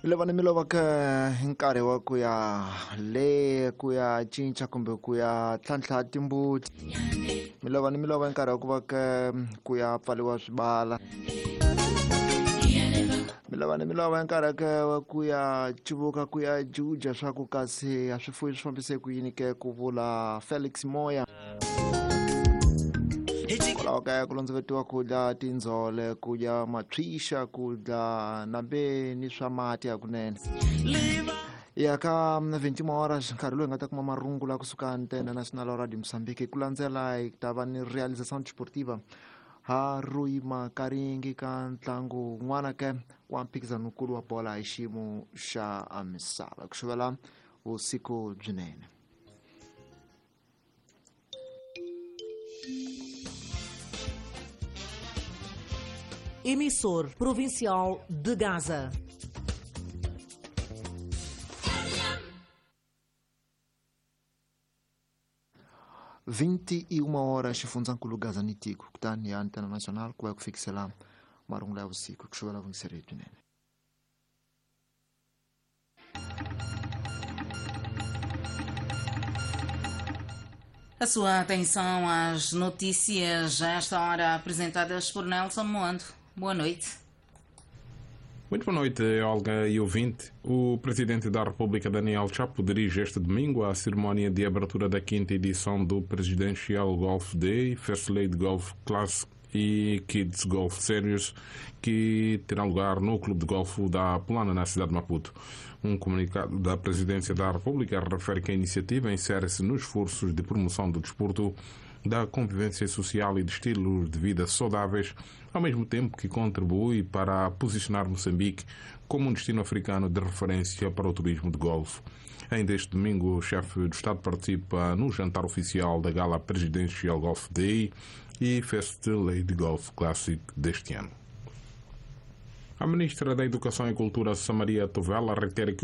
Lava ni mi lova ka hi nkarhi wa ku ya le ku ya cinca kumbe ku ya tlhantlha timbuti. Mi lova ni mi lova hi nkarhi wa ku va ka ku ya pfariwa swibala. Mi lava ni mi lova hi nkarhi wa ku ya cuvuka ku ya juja swa ku kasi a swifuwo swi fambise ku yini ke, ku vula Felix Moya. Kwalaho kaya ku londzovetiwa ku dya tindzole, ku dya mathwixa, ku dya nambe ni swa mati hakunene. Ya ka 21 horas nkarhi lowu hi nga ta kuma marungula kusuka Antena Nacional Radio Mozambique. Ku landzela hi ta va ni Realização Desportiva ha Rui Makaringi ka ntlangu wun'wana ke wa mphikizanokulu wa bola hi xiyimo xa misava. Ku xuvela vusiku byinene. Emissor Provincial de Gaza. 21 horas xifundzankulu Gaza ni tiko, kutani ya Antena Nacional ku va ku fikisela marungula ya vusiku. Ku xuvela vuyingiseri byinene. A sua atenção às notícias a esta hora apresentadas por Nelson Moando. Boa noite. Muito boa noite, Olga e ouvinte. O Presidente da República, Daniel Chapo, dirige este domingo a cerimónia de abertura da quinta edição do Presidential Golf Day, First Lady Golf Classic e Kids Golf Series, que terá lugar no Clube de Golfo da Polana, na cidade de Maputo. Um comunicado da Presidência da República refere que a iniciativa insere-se nos esforços de promoção do desporto, da convivência social e de estilos de vida saudáveis, ao mesmo tempo que contribui para posicionar Moçambique como um destino africano de referência para o turismo de golfe. Ainda este domingo, o chefe do Estado participa no jantar oficial da Gala Presidential Golf Day e First Lady Golf Classic deste ano. A ministra da Educação e Cultura, Samaria Tovela, reitera que